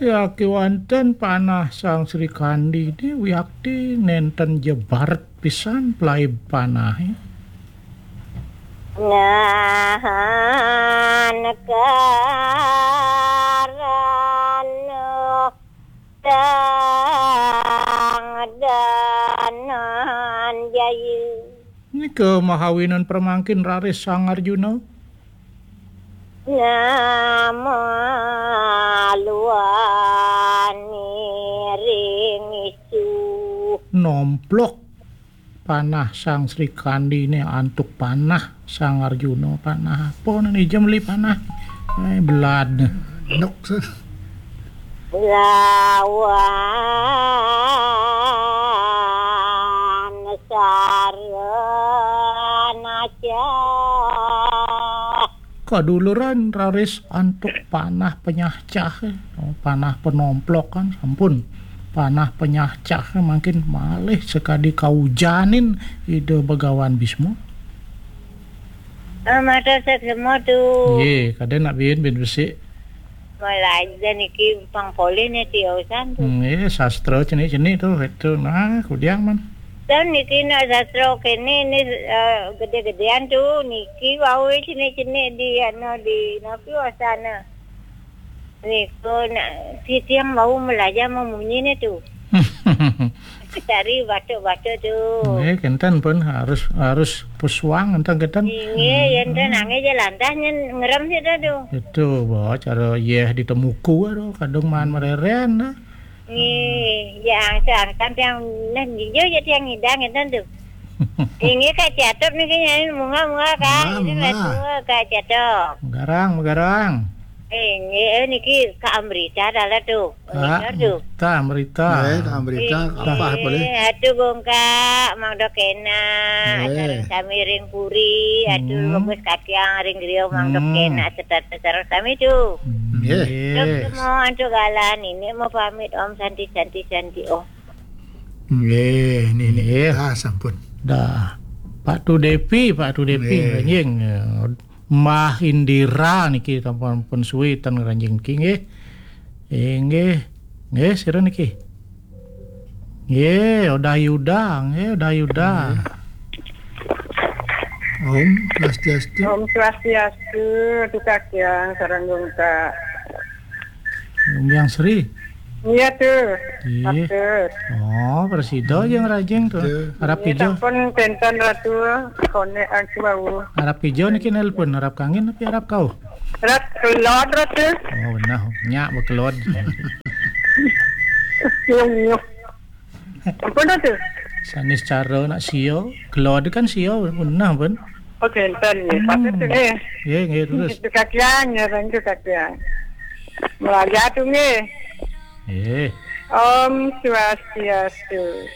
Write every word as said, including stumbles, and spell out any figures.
Ya, kéwanten panah Sang Sri Kandi ni wiakti nénten jebar pisan pelaib panah. Nahan karana Sang Dananjaya. Nika mahawinan pramangkin raris Sang Arjuna. Nama luani ring isu. Nomplok panah Sang Sri Kandi ni antuk panah Sang Arjuna. Panah apa ni jem li panah? Eh, belad. Nok. Lawan sarana cah. Kaduluran raris antuk panah penyahcah. Oh, panah penomplok kan sampun. Panah penyahcah mangkin malih sakadi kaujanin Ida Bagawan Bisma. Ah, matur suksma tu. Nggih, kadén nak bin, bin besik. Malaja niki pang polih ni tiosan tu. Hmm, nggih, sastra cenik-cenik tu, itu. Nah, kudiang man. Dan niki nak sastra kene ni, eh, gede-gedean tu, niki wau cenik-cenik di anu di napi wasana. Niku nak titiang wau malaja memunyi ni tu. Cari batuk-batuk tu. Nggih, kenten pun harus, harus pusuang enten kenten. Inggih, yen ten angge je lantas nyen ngerem sik dah tu. Itu, bah, cara yeh ditemuku ado kadung maan mereren dah. Nggih, ya angsa angkan tiang nah nggih ya tiang ngidang enten tu. Inggih Kak Catup niki nyanyi munga-munga Kak. Munga, ini munga. Lagu Kak Catup. Megarang, megarang. Inggih, eh, niki Kak Amrita dalah tu. Kak Amrita, Amrita. Eh, Kak Amrita, apa boleh? Aduh, Gongkak, Mang Dokena, eh, acara sami ring puri, aduh, hmm, bagus katiang ring griya, Mang, hmm, Dokena, setat-setat sami tu. Hmm, nggih. Dok semua antuk galan ini mau pamit, Om Santi, Santi, Santi, Om. Nggih, nini. Nggih. Ah, sampun. Dah. Pak Tu Depi, Pak Tu Depi, nggih. Nggih. Mbah Indira niki sampun pun suwi ten ngranjing niki nggih. Inggih. Nggih, sira niki. Nggih, Odah Yuda, nggih, Odah Yuda. Nggih. Om Swastiastu. Om Swastiastu, Tukak Yang sareng Gungka. Lumbiang Sri. Iya, tuh. Iya. Matur. Oh, prasida yang rajing tuh. Iya. Arap. Iya, ijo. Sampun penten Ratu, konek aku wau. Arap ijo niki nelpon, arap kangin tapi arap kau? Arap kelod, Ratu. Oh, benar. Nyak bekelod. Nyuh, nyuh. Ampun, Ratu. Sanis cara nak sio, kelod kan sio, benar pun. Oh, penten, ya. Hmm. Patut tuh, nggih. Nggih, nggih, terus. Itu kakian, ya, kan, itu kakian. Melajar tuh, nggih. Eh. Om Swastiastu.